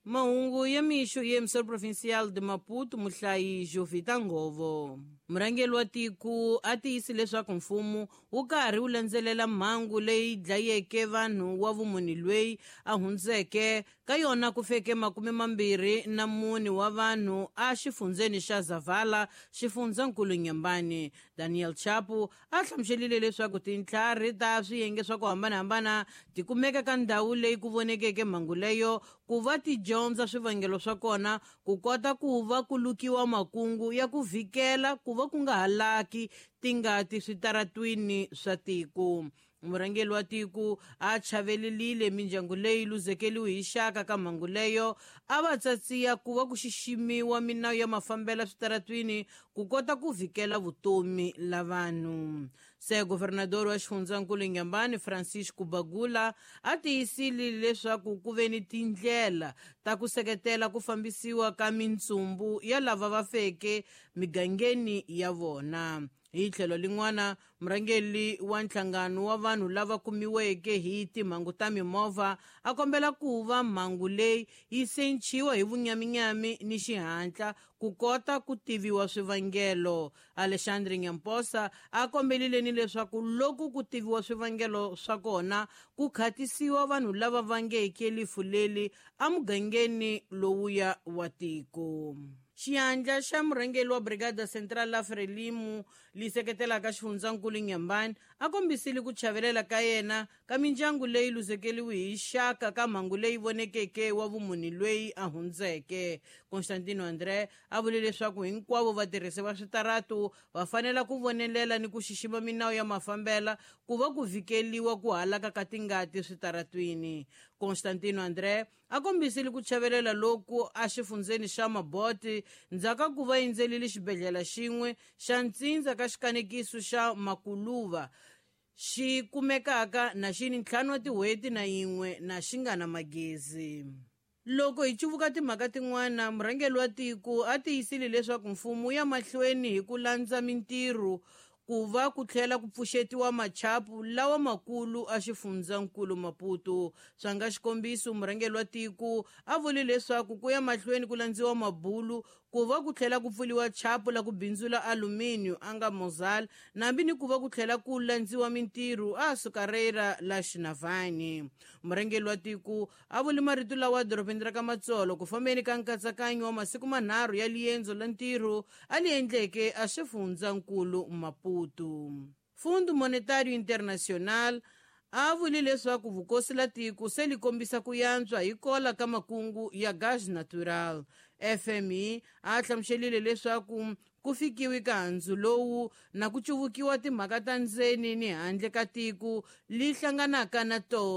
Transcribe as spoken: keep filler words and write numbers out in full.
Mahungu ya mixo ya Emissora Provincial de Maputo, muhlayi Jovita Ngovo. Murhangeri wa tiko a tiyisi leswaku mfumo wu karhi wu landzelela mhangu leyi dlayeke vanhu wa vumuni loyi a hundzeke ka yona ku feke makume mambirhi na mune wa vanhu a xifundzeni xa Zavala, xifundzankulu Nyambani. Daniel Chapo a hlamuselile leswaku tintlhari ta swiyenge swa ku hambanahambana ti kumeka ka ndhawu leyi ku vonekeke mhangu leyo ku va ti dyondza swivangelo swa kona ku kota ku va ku lukiwa makungu ya ku vhikela ku va ku nga halaki tingati switaratwini swa tiko. Murhangeri wa tiko a chavelelile mindyangu leyi luzekeriwe hi xaka ka mhangu leyo, a va tsatsiya ku va ku xiximiwa minawu ya mafambelo switaratwini ku kota ku vhikela vutomi la vanhu. Se governador wa xifundzankulu Nyambani Francisco Bagula a tiyisile leswaku ku ve ni tindlela ta ku seketela ku fambisiwa ka mintsumbu ya lava va feke migangeni ya vona. Hi tlhelo lin'wana, murhangeri wa nhlangano wa vanhu lava kumiweke hi timhangu ta mimovha a kombela ku va mhangu leyi yi sechiwa hi vunyaminyami ni xihatla ku kota ku tiviwa swivangelo. Alexandre Nyamposa a kombelile ni leswaku loko ku tiviwa swivangelo swa kona ku khatisiwa vanhu lava vangeke lifu leli emugangeni lowuya wa tiko. Xiyandla xa murhangeri wa Brigada Central la Frelimo li seketelaka xifundzankulu Nyambani a kombisile ku chavelela ka yena ka mindyangu leyi luzekeriwe hi xaka ka mhangu leyi vonekeke wa vumuni loyi a hundzeke. Constantino André a vule leswaku hinkwavo vatirhisi va switaratu va fanela ku vonelela ni ku xixima minawu ya mafambela ku va ku vhikeliwa ku halaka ka tingati switaratwini. Constantino André a kombisile ku chavelela loku a xifundzeni xa Maboti ndzhaku ku va endzelile xibedhlele xin'we xa ntsindza ka xikanekiso xa Makuluva xi kumekaka na xi ni ntlhanu wa tin'hweti na yin'we na xi nga na magezi. Loko hi cuvuka timhaka tin'wana, murhangeri wa tiko a tiyisile leswaku mfumo wu ya mahlweni hi ku landza mintirho ku va ku tlhela ku pfuxetiwa machapu lawa makulu a xifundzankulu Maputo. Swa nga xikombiso, murhangeri wa tiko a vule leswaku ku ya mahlweni ku landziwa mabulu ku va ku tlhela ku pfuriwa chapu la ku bindzula aluminium a nga Mozal, nambi ni ku va ku tlhela ku landziwa mintirho a Sukareira la Xinavani. Murhangeri wa tiko a vule marito lawa dorobeni ra ka Matsolo ku fambeni ka nkatsakanyo wa masiku manharhu ya liendzo la ntirho a li endleke a xifundzankulu Maputo. Fundo Monetario Internacional a vule leswaku vukosi la tiko se li kombisa ku yantswa hi kola ka makungu ya gaz natural. F M I a hlamuselile leswaku ku fikiwe ka handzu lowu na ku cuvukiwa timhaka ta ndzeni ni handle ka tiko li hlanganaka na tona.